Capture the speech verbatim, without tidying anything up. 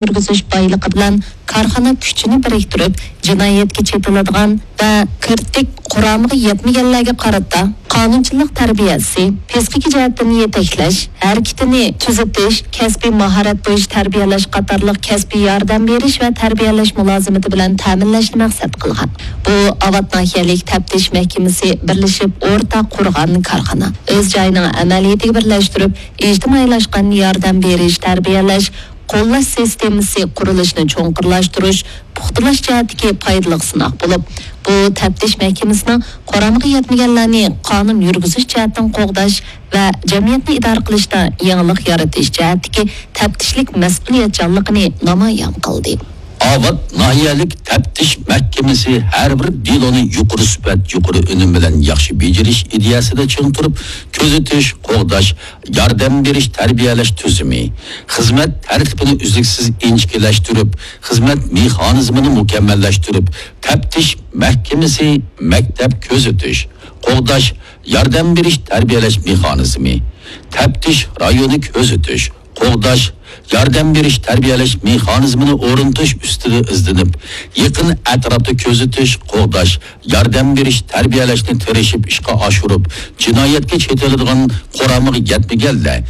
يۈرگۈزۈش بايلىقى بىلەن كارخانا كۈچىنى بىرىكتۈرۈپ، جىنايەتكە چېتىلىدىغان ۋە كىرىتىك قۇرامىغا يەتمىگەنلەرگە قارىتا قانۇنچىلىق تەربىيەسى، پىسخىكا جەھەتتىن يېتەكلەش، ھەرىكىتىنى تۈزىتىش، كەسپىي ماھارەت بويىچە تەربىيەلەش قاتارلىق كەسپىي ياردەم بېرىش ۋە تەربىيەلەش مۇلازىمىتى بىلەن تەمىنلەشنى مەقسەت قىلغان. بۇ ئاۋات ناھىيەلىك تەپتىش مەھكىمىسى بىرلىشىپ ئورتاق قۇرغان كارخانا. ئۆز جايىنىڭ ئەمەلىيىتىگە بىرلەشتۈرۈپ، ئىجتىمائىيلاشقان ياردەم بېرىش، تەربىيەلەش، قوللاش سىستېمىسى قۇرۇلۇشىنى چوڭقۇرلاشتۇرۇش، پۇختىلاش جەھەتتىكى پايدىلىق سىناق بولۇپ، بۇ تەپتىش مەھكىمىسىنىڭ قۇرامىغا يەتمىگەنلەرنى قانۇن يۈرگۈزۈش جەھەتتىن قوغداش ۋە جەمئىيەتنى ئىدارە قىلىشتا يېڭىلىق يارىتىش جەھەتتىكى تەپتىشلىك مەسئۇلىيەتچانلىقىنى نامايان قىلدى. ئاۋات ناھىيەلىك تەپتىش مەھكىمىسى ھەر بىر دېلونى يۇقىرى سۈپەت، يۇقىرى ئۈنۈم بىلەن ياخشى بېجىرىش ئىدىيەسىدە چىڭ تۇرۇپ، كۆزىتىش، قوغداش، ياردەم بېرىش، تەربىيەلەش تۈزۈمى، خىزمەت تەرتىپىنى ئۈزلۈكسىز ئىنچىكىلەشتۈرۈپ، خىزمەت مېخانىزمىنى مۇكەممەللەشتۈرۈپ، تەپتىش مەھكىمىسى، مەكتەپ كۆزىتىش، قوغداش، ياردەم بېرىش، تەربىيەلەش مېخانىزمى، تەپتىش رايونى كۆزىتىش، قوغداش، ياردەم بېرىش، تەربىيەلەش مېخانىزمىنى ئورنىتىش ئۈستىدە ئىزدىنىپ، يېقىن ئەتراپتا كۆزىتىش، قوغداش، ياردەم بېرىش، تەربىيەلەشنى تىرىشىپ ئىشقا ئاشۇرۇپ، جىنايەتكە چېتىلىدىغان قۇرامىغا يەتمىگەنلەر،